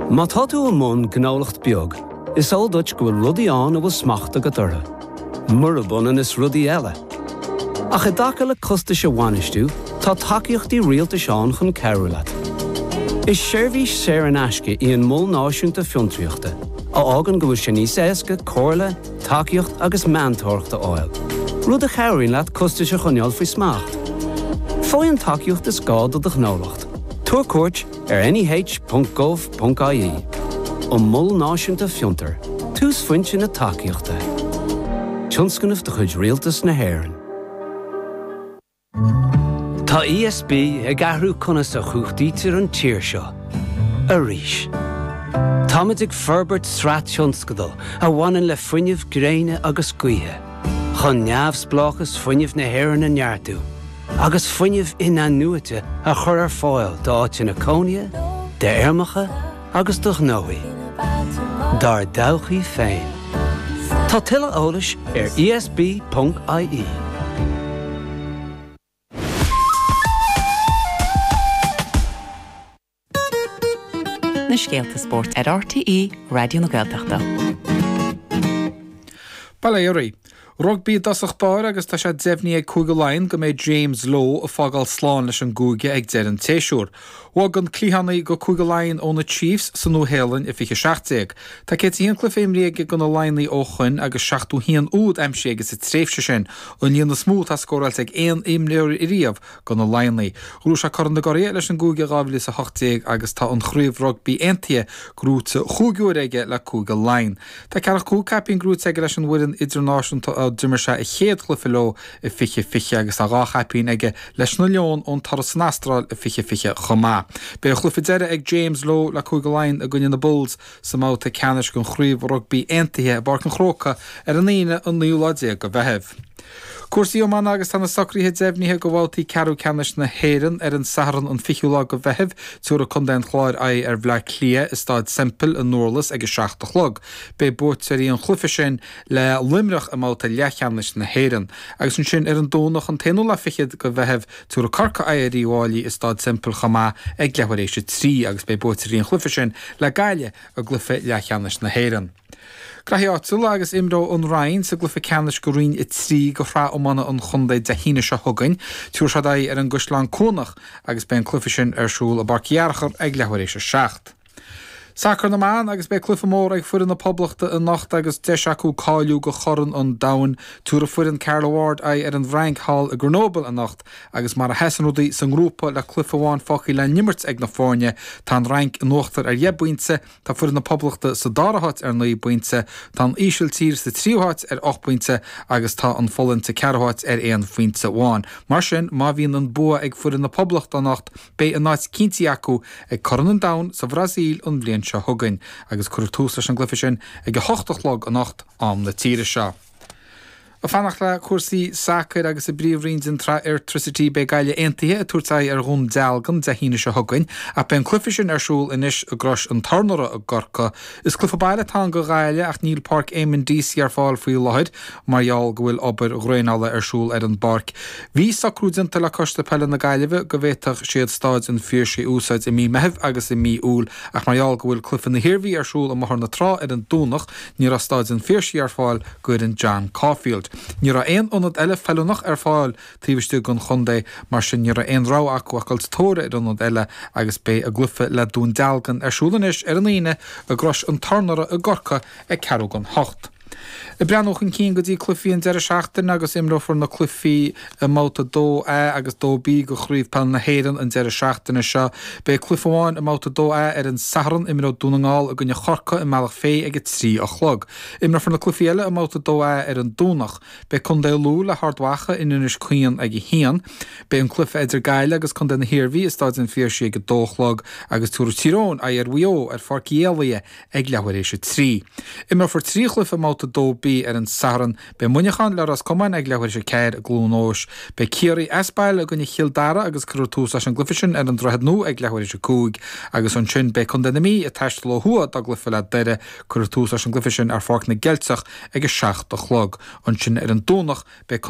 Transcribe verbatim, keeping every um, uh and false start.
Má tá tú i mbun gnólacht beag, is eol duit go bhfuil rudaí ann a bhfuil smacht agat orthu. Murab ionann is rudaí eile. Ach i dtaca le costais a bhainistiú, tá tacaíochtaí rialtais ann chun cabhrú leat. Is seirbhís saor in aisce í an Mol Náisiúnta Fiontraíochta, a fhágann go bhfuil sé níos éasca comhairle, tacaíocht agus meantóireacht a fháil. Rud a chabhraíonn leat costais a choinneáil faoi smacht. Faigh an tacaíocht is gá do do ghnólacht. Tabhair cuairt ar N E H ponc gov ponc I E. An Mol Náisiúnta Fiontar, túsphointe na tacaíochta. Tionscnamh de chuid Rialtas na hÉireann. Tá E S B ag athrú conas a chumhachtaítear an tír seo. Arís. Táimid ag forbairt sraith tionscadal a bhaineann le fuinneamh gréine agus gaoithe, chun neamhspleáchas fuinnimh na hÉireann a neartú, agus fuinneamh in-athnuaite a chur ar fáil d'áiteanna cónaithe, d'fheirmeacha agus do ghnóthaí. Dár dtodhchaí féin. Tá tuilleadh eolais ar E S B ponc I E. Na scéalta spóirt ar R T E Raidió na Gaeltachta. Bail ó Dhia. Rugbaí i dtosach báire, agus tá sé deimhnithe ag Cúige Laighean go mbeidh James Lowe ag fágáil slán leis an gcúige ag deireadh an tséasúir. Bhog an cliathánaí go Cúige Laighean ó na Chiefs sa Nua-Shéalainn i fiche seacht déag. Tá céad haon cluiche imrithe aige do na Laighnigh ó shin agus seachtó haon úd aimsithe aige sa tréimhse sin, an líon is mó atá scóráilte ag aon imreoir riamh do na Laighnigh. Ghnóthaigh sé Corn na gCuradh leis an gcúige dhá mhíle a hocht déag agus tá an chraobh rugbaí aontaithe gnóthaithe cúig huaire aige le Cúige Laighean. Tá ceathracha cúig caipín gnóthaithe aige leis an bhfoireann idirnáisiúnta ó d'imir sé a chéad chluiche leo i fiche fiche agus tá dhá chaipín aige leis na Leoin ón turas san Astráil i fiche fiche chomh maith. Beidh a chluiche deiridh ag James Lowe le Cúige Laighean i gcoinne na Bulls sa mbabhta ceannais den chraobh rugbaí aontaithe i bPáirc an Chrócaigh ar an Aoine an naoú lá déag de Mheitheamh. Cúrsaí iomána, agus tá na socruithe deimhnithe do bhabhtaí ceathrú ceannais na hÉireann ar an Satharn an fichiú lá de Mheitheamh. Tabharfaidh Contae an Chláir aghaidh ar Bhaile Átha Cliath i Staid Semple i nDurlas ag a seacht a chlog. Beidh buaiteoirí an chluiche sin le Luimneach i mbabhta leathcheannais na hÉireann. Agus ansin ar an Domhnach an t-aonú lá fichead de Mheitheamh, tabharfaidh Corcaigh aghaidh ar Uíbh Fhailí i Staid Semple chomh maith ag leathuair tar éis a trí, agus beidh buaiteoirí an chluiche sin le Gaillimh i gcluiche leathcheannais na hÉireann. Graithí áitiúla, agus imreoidh an Rinn sa gcluiche ceannais de Roinn a trí de shraith iomána an chontae Dé hAoine seo chugainn. Tabharfaidh siad aghaidh ar an gCaisleán Cuanach agus beidh an cluiche sin ar siúl i bPáirc Uí Fhearchair ag leathuair tar éis a seacht. Sacar na mban, agus beidh cluiche mór ag foireann na Poblachta anocht agus deis acu cáiliú do Chorn an Domhain. Tabharfaidh foireann Carla Ward aghaidh ar an bhFrainc thall i Grenoble anocht, agus mar a sheasann rudaí sa ngrúpa le cluiche amháin fágtha le n-imirt ag na foirne, tá an Fhrainc in uachtar ar dheich bpointe, tá foireann na Poblachta sa dara háit ar naoi bpointe, tá an Ísiltír sa tríú háit ar ocht bpointe agus tá an Pholainn sa ceathrú háit ar aon phointe amháin. Mar sin, má bhíonn an bua ag foireann na Poblachta anocht, beidh a n-áit cinnte acu ag Corn an Domhain sa Bhrasaíl an bhliain seo chugainn, agus cuirfear tús leis an gcluiche sin ag a hocht a chlog anocht am na tíre seo. Ag fanacht le cúrsaí sacair, agus i bpríomhroinn den tsraith Airtricity beidh Gaillimh Aontaithe ag tabhairt aghaidh ar Dhún Dealgan Dé hAoine seo chugainn, ach beidh an cluiche sin ar siúl anois i gCrois an Tornaire i gCorcaigh. Is cluiche baile atá ann do Ghaillimh, ach níl Páirc Eamonn Deacy ar fáil faoi láthair mar gheall go bhfuil obair dhraenála ar siúl ar an bpáirc. Bhí socrú déanta le Coiste Peile na Gaillimhe go bhféadfadh siad Staid an Phiarsaigh a úsáid i mí Meithimh agus i mí Iúil, ach mar gheall go bhfuil cluiche na hIarmhí ar siúl i mBóthar na Trá ar an Domhnach, ní raibh Staid an Phiarsaigh ar fáil d'fhoireann John Caulfield. Ní raibh aon ionad eile feiliúnach ar fáil taobh istigh den chontae, mar sin ní raibh aon rogha acu ach dul sa tóir ar ionad eile, agus beidh a gcluiche le Dún Dealgan ar siúl anois ar an Aoine i gCrois an Tornaire i gCorcaigh ag ceathrú don hocht. Ag breathnú chun cinn go dtí cluichí an deireadh seachtaine, agus imreofar na cluichí i mbabhta dó A agus dó B de Chraobh Peile na hÉireann an deireadh seachtaine seo. Beidh cluiche amháin i mbabhta dó A ar an Satharn, imreoidh Dún na nGall i gcoinne Chorcaí i mBealach Féich ag a trí a chlog. Imreofar na cluichí eile i mbabhta dó A ar an Domhnach. Beidh Contae Lú le hArd Mhacha in Inis Caoin ag a haon. Beidh an cluiche idir Gaillimh agus Contae na hIarmhí i Staid an Phiarsaigh ag a dó a chlog, agus tabharfaidh Tír Eoghain aghaidh ar Mhaigh Eo ar Pháirc Uí Éalaithe ag leathuair tar éis a trí. Imreofar trí chluiche i mbabhta dó B ar an Satharn. Beidh Muineachán le Ros Comáin ag leathuair tar éis a ceathair i gCluain Eois. Beidh Ciarraí as baile i gcoinne Chill Dara agus cuirfear tús leis an gcluiche sin ar an Droichead Nua ag leathuair tar éis a cúig, agus ansin beidh Contae na Mí ag taisteal ó thuaidh dá gcluiche le Doire. Cuirfear tús leis an gcluiche sin ar Pháirc na gCeilteach ag a seacht a chlog. Ansin ar an Domhnach beidh